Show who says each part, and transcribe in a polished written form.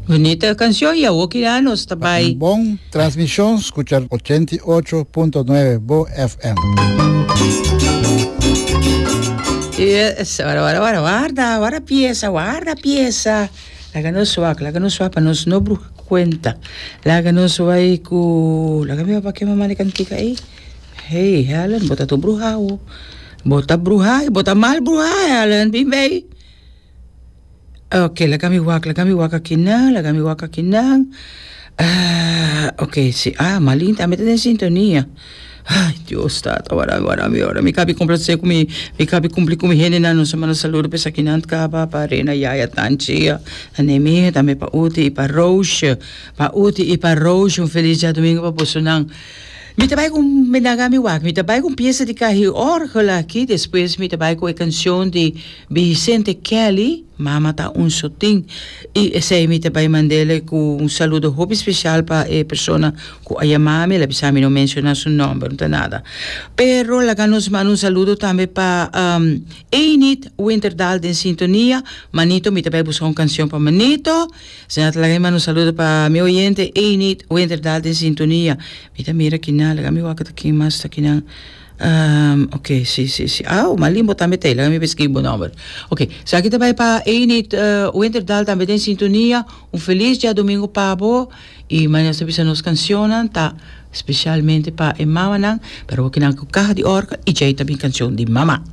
Speaker 1: Bunita cancion y awo kila nos ta bay.
Speaker 2: Un bon transmision scucha 88.9 Bo FM.
Speaker 1: Yes, warda, warda, warda, warda, warda pieza, warda pieza. Laga nos wak, laga nos wak pa nos no bruha cuenta. Laga nos bay cu, laga mi wak pa ke mama di cantica ey. Hey, Helen, bo ta tur bruha awo. Bo ta bruha y bo ta mal bruha, Helen, bin bay. Ok, laga mi wak, laga mi wak akinan, laga mi wak akinan. Ah, ok, si. Ah, Marlene tambe ta den sintonia. Ay, Dios tata, wara mi, wara mi, wara mi. Kabi complace ku mi, mi kabi cumpli ku mi hendenan. Nos a manda saludo pa esakinan kaba, pa Rena, Yaya, Tanchi, Anemia, tambe pa Uti y pa Roosje. Pa Uti y pa Roosje, un feliz djadomingo pa bosonan. Mi ta bai ku, mi laga mi wak, mi ta bai ku un piesa di kahi orgel aki, despues mi ta bai ku e cancion di Vicente Kelly, Mama ta un sotin. Y esey mi ta bay mandele cu un saludo hopi special pa e persona cu a yama mi, el a bisa mi no menciona su nomber, no ta nada. Pero laga nos manda un saludo tambe pa Enid Winterdal den sintonia. Manito, mi ta bay busca un cancion pa Manito. Señor ta laga mi manda un saludo pa mi oyente Enid Winterdal den sintonia. Mi ta mira kinan, laga mi wak ta ken mas ta kinan. Um, ok, si, si, si. Ah, oh, Malimbo tambe ta Laga mi beskribi bo nomber. Ok, esaki ta bai pa Enid uh, Winterdal tambe den sintonia. Un feliz djadomingo pa bo. Y mañana nos ta bisa nos cancionnan ta specialmente pa e mamanan. Pero bo kinan ku caja di orgel y djei ta bin cancion di mama.